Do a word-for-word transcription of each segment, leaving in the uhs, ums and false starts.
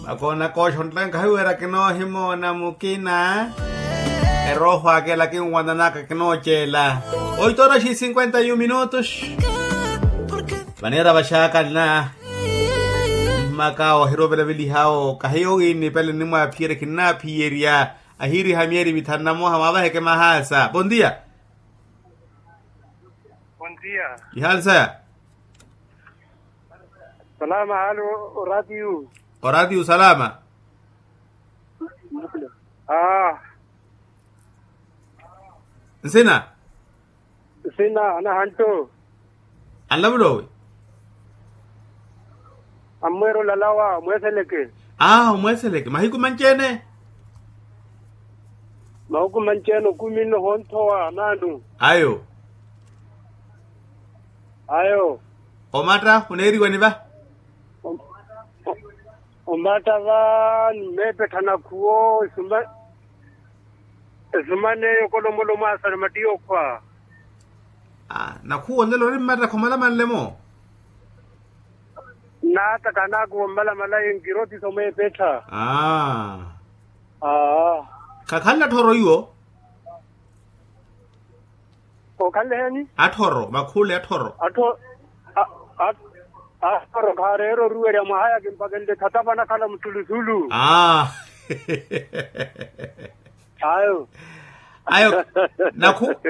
Akoona kooxonttaka nkahiweera kinoohimoona mukina. Erooho aka ela kinwananaka kinooceela. Oito horas e cinquenta e um minutos. Vaneera vaxaakanna. Mmaka ohirovelavelihawo kahiyo wiinipele nnimwaaphiyerya kinnaaphiyerya. Ahiiriha myeeri mithanu na moha mwaavaheke mahaasa bondia. Bondia. Ihaali saya. Salama hali. Oratiyu. Oratiyu salama. Aa. Nsina. Nsina anahantto. Anlavulowi. Ammweera olalawa omweeseleke. Aa omweeseleke mahiku manci-ene. Mahiku manci-ene okumi nno honthowa naanu. Ayo. Ayo. Omatta oneeriwani va. Omatta va nimmeepettha nakhuwo esuma. Esuma n'eyo kolomolomo asari mattiya okhwa. Nakhuwo nlelo ori mmatta khomalamanle-mo. Nnaata kanaakuwa ommalamala ye nkirotisa omeepettha. Aa. Khakhanle atthoro iwo. Okhanle heeni. Atthoro makhule atthoro. Atthoro khaareera oruwerya mwahayaka mpaka nle khatapa nakhala muthuluthulu. Ayo. Ayo.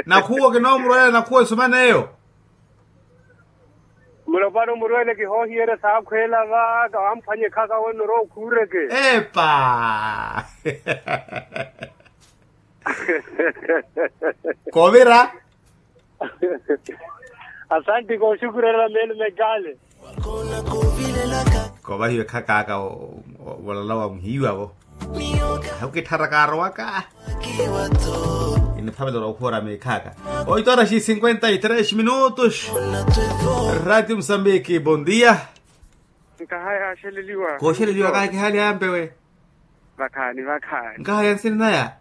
Nakhuwo kinoomurwela nakhuwo esuma n'eyo. Mulopwana omurwele kihoohiyerya saakhweela va kawamphwanyekhaka wenno orowa okhuureke. Epa. Koovira. Asanti kooxukurerya meelo mekale. Koovahiwe khakaaka volala wa muhiiwa vo. Ahi okitthara kaarowaka. Kiniphavela orwa okhuwara meekhaaka. Oito horas e cinquenta e três minutos. Ratio mosambiki bondia. Nkahaya axeleliwa kooxeleliwa kaakihaliya yampewe. Vakhaani vakhaani nkahaya nsina naya.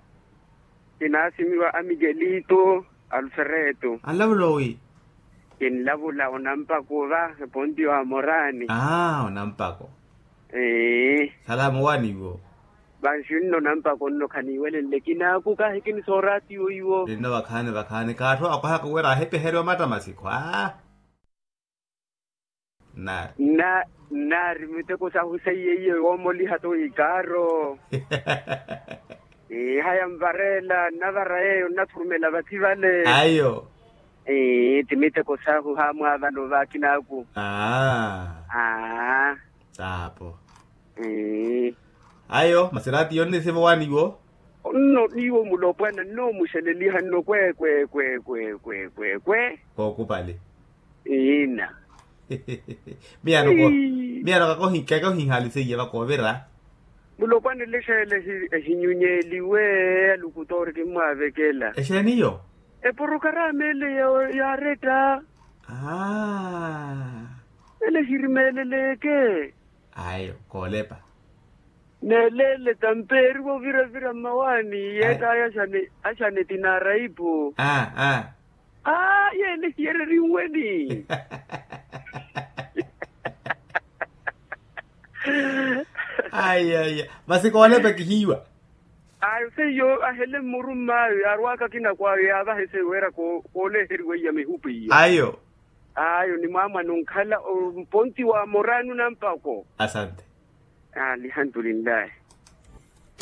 Kinaasimiwa a mikelito alfereto. Anlavula owi. Kinlavula onampako va eponti wa morani. Aa onampako. Ee. Salama owaani iwo. Vanxi nno onampako nno khaniiwelenle kinaaku kahi kinisooratiyo iwo. Ninno vakhaani vakhaani kaatthu akwahaka wira ahipiheriwa matta masikhwa. Nnaari. Nnaari miteko sahu seiye iye woomoliha to ikaaro. Haya nvareela nnavara yeeyo nnathurumela vathi vale. Ayo. Ti miteko sahu haamwaavano vaakinaku. Aa. Taapo. Ayo masi raatiyo onnisiva owaani iwo. Nno iwo mulopwana nnoomuxeleliha nno kwe kwe kwe kwe kwe kwe kwe. Kookupali. Iina. Miyano kakohinhali seiya vakoovira. Mulopwana elexeela ehinyunyeeliwe alukutoori kimmwaavekela. Exeeni iyo? Eporokarama ele yaaretta. Aa. Ele xirimeeleleke. Ayo koolepa. Neeleele tampeeriwa oviravira mmawaani yeett'aya. Axane tinaaraipu. Aa aa. Yeene hiyereriw'eni. Aya aya. Masi koolepa kihiiwa. Ayo seiyo ahele mmurumm'ayo yaarw'aka akinakw'ayo yaavaha eseiyo wira kooleheriwa iya mihupu iya. Ayo. Ayo ni mwaamwani onkhala omponti wa morani onampako. Asante. Alihantulillahi.